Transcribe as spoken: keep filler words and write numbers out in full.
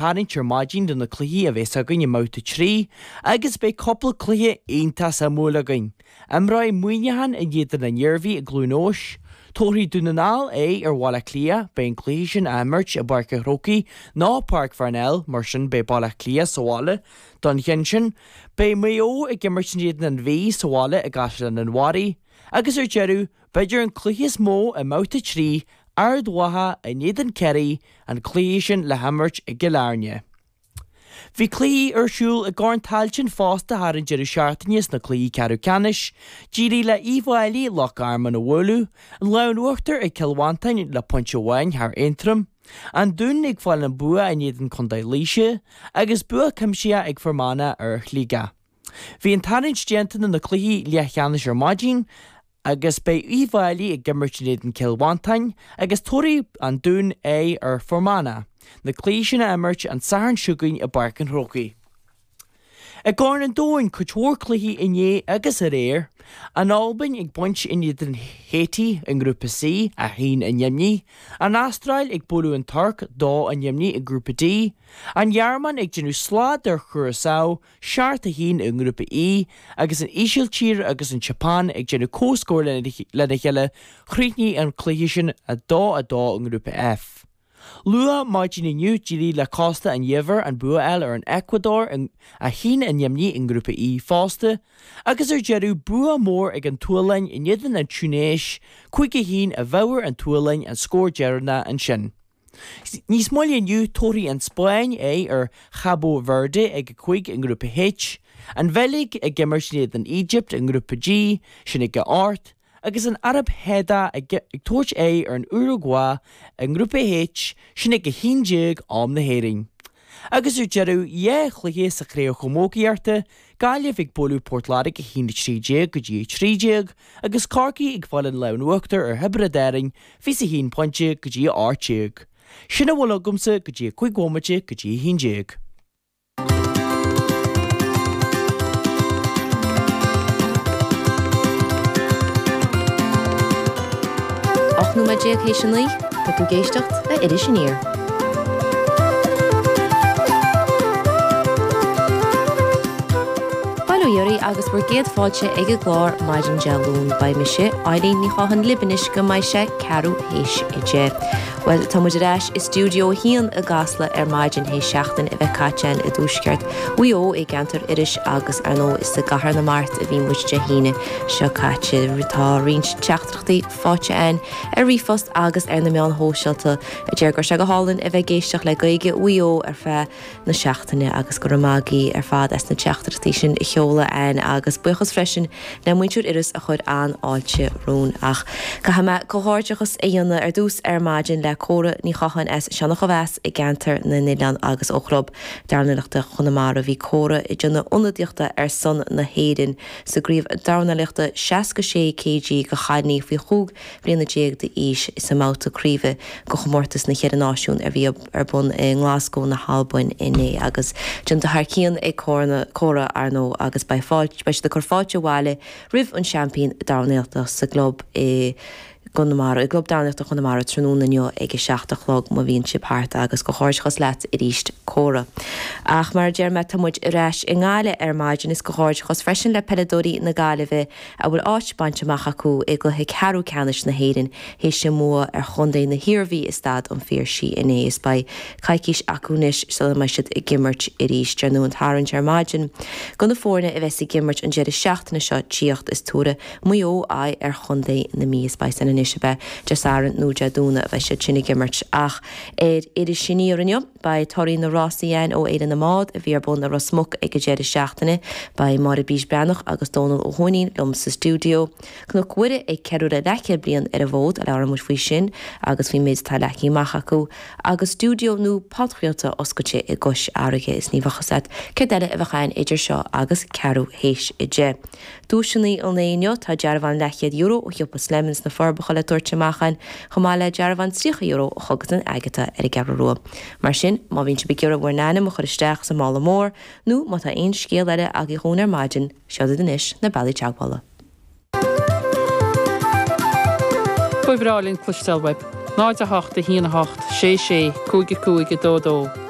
Tarraingt ar maidin do na cluichí a bheas againn i mbabhta trí agus beidh cúpla cluiche iontach suimiúil againn. Imreoidh Muineachán in éadan an Iarmhí i gCluain Eois, tabharfaidh Dún na nGall aghaidh ar Bhaile Átha Cliath, beidh an cluiche sin á imirt i bPáirc an Chrócaigh nó Páirc Pharnell, mar sin beidh Baile Átha Cliath sa bhaile don cheann sin. Beidh Maigh Eo ag imirt in éadan an Mhí sa bhaile i gCaisleán an Bharraigh. Agus ar deireadh, b'fhéidir an cluiche is mó i mbabhta trí, Ard Mhacha in éadan Ciarraí, an cluiche sin le himirt i gCill Airne. Bhí cluichí ar siúl i gCorn Tailteann fosta thar an deireadh seachtaine sna cluichí ceathrú ceannais. D'éirigh le Uíbh Fhailí Loch Garman a bhualadh, an lámh in uachtar ag Cill Mhantáin le pointe amháin thar Aontroim, An Dún ag fáil an bua in éadan Contae Laoise agus bua cuimsitheach ag Fear Manach ar Shligeach. Bhí an tarraingt déanta do na cluichí leathcheannais ar maidin agus beidh Uíbh Fhailí ag imirt in éadan Cill Mhantáin agus tabharfaidh An Dún aghaidh ar Fear Manach, na cluichí sin á imirt an Satharn seo chugainn i bPáirc an Chrócaigh. I gCorn an Domhain, cuid mhór cluichí inné agus aréir, An Albain ag baint in éadan Haiti i nGrúpa C, a haon a neamhní, An Astráil ag bualadh an Tuirc, dó a neamhní i nGrúpa D, An Ghearmáin ag déanamh slad ar Chúrasao, seacht a haon i nGrúpa E, agus an Ísiltír agus an tSeapáin ag déanamh comhscór lena chéile, chríochnaigh an cluiche sin a dó a dó i nGrúpa F. Luath maidin inniu d'éirigh le Cósta an Eabhair an bua a fháil ar an Eacuadór, a haon a neamhní i nGrúpa E fosta, agus ar deireadh bua mór ag an tSualainn in éadan an Túinéis, cúig a haon i bhfabhar an tSualainn an scór deireanach ansin. Níos moille inniu, tabharfaidh an Spáinn aghaidh ar Chabo Verde ag a cúig i nGrúpa H, an Bheilg ag imirt in éadan Egypt i nGrúpa G, sin ag a hocht, agus an Araib Shádach ag tabhairt aghaidh ar an Uragua i nGrúpa H, sin ag a haon déag am na hÉireann. Agus ar deireadh, dhá chluiche sa Chraobh Chamógaíochta, Gaillimh ag bualadh Port Láirge a haon a trí déag go dtí a trí déag agus Corcaigh ag fáil an lámh in uachtar ar Thiobraid Árann fiche a haon pointe go dtí a hocht déag. Sin a bhfuil agamsa go dtí a cúig bhomaite go dtí a haon déag. Ocht nóiméad déag théis a naoi, tá tú ag éisteacht le Iris Aniar. Bail ó Dhia oraibh agus bhur gcéad fáilte ag an gclár maidin Dé Luain. Beidh mise, Eileen Ní Chatháin libh anois go mbeidh sé ceathrú théis a deich. Bhuel, tá muid ar ais i stiúideo a haon i gCasla ar maidin théis seachtain a bheith caite againn i dtuaisceart Mhaigh Eo i gceantar Iorrais agus ar ndóigh is i gCathair na Mart a bhí muid Dé hAoine seo caite. Tá roinnt teachtaireachtaí faighte againn ar ríomhphost agus ar na meáin shóisialta a deir go raibh sé go hálainn a bheith ag éisteacht le Gaeilge Mhaigh Eo ar feadh na seachtaine agus go raibh maith agaibh ar fad as na teachtaireachtaí sin a sheoladh againn agus buíochas freisin le muintir Iorrais a chuir an-fháilte romhainn. Ach caithfidh mé comhghairdeachas a dhéanamh ar dtús ar maidin le Córa Ní Chatháin as Sionnach an Mheas i gceantar na nOileán agus ó Chlub Dornálaíochta Chonamara. Bhí Córa ag déanamh ionadaíochta ar son na hÉireann sa gcraobh dornálaíochta seasca sé kg do chailíní faoi chúig bliana déag d'aois sa mbabhta craoibhe do chomórtas na Cheithre Náisiún a bhí ar bun i nGlasgow na hAlbain inné agus déanta thar cionn ag Córa ar ndóigh agus beidh fáilte beidh siad ag cur fáilte abhaile roimh an seaimpín dornálaíochta sa gclub i gConamara, i gClub Dornálaíochta Chonamara tráthnóna inniu ag a seacht a chlog má bhíonn sibh thart agus comhghairdeachas leat arís Córa. Ach mar a deir mé tá muid ar ais i nGaillimh ar maidin is comhghairdeachas freisin le peileadóirí na Gaillimhe a bhfuil áit bainte amach acu i gcluiche ceathrú ceannais na hÉireann théis a mbua ar chontae na hIarmhí i Staid an Phiarsaigh inné is beidh coicís acu anois sula mbeidh siad ag imirt arís. Déanadh an tarraingt ar maidin do na foirne a bheas ag imirt an deireadh seachtaine seo tíocht is tabharfaidh Maigh Eo aghaidh ar chontae na Mí. Is beidh san anois ab ea Dé Sathairn nó Dé Domhnaigh a bheidh siad sin ag imirt. Ach ar Iris Aniar inniu, beidh torthaí na rásaí againn ó Fhéile na mBád a bhí ar bun i Ros Muc ag an deireadh seachtaine. Beidh Máire Bís Breathnach agus Dónal Ó hUaithnín liom sa stiúideo. Cnoc Mhuire ag ceiliúradh leathchéad bliain ar an bhfód, labhróidh muid faoi sin agus faoin méid atá leagtha amach acu. Agus stiúideo nua podchraolta oscailte i gCois Fharraige. Is ní bheadh fhios agat céard eile a bheadh againn idir seo agus ceathrú théis a deich. Duaiseanna an lae inniu, tá dearbhán leathchéad euro ó shiopa Slemons sna Forbacha le tabhairt amach againn, chomh maith le dearbhán tríocha euro ó Chógaslann Agatha ar an gCeathrú Rua. Mar sin, má bhíonn sibh ag iarraidh bhur n-ainm a chur isteach sa mála mór, nó má tá aon scéal eile agaibh dhúinn ar maidin, seo iad anois na bealaí teagmhála. Ba bhreá linn cloisteáil uaibh. náid a hocht a haon a hocht sé sé cúig a cúig a dó dó.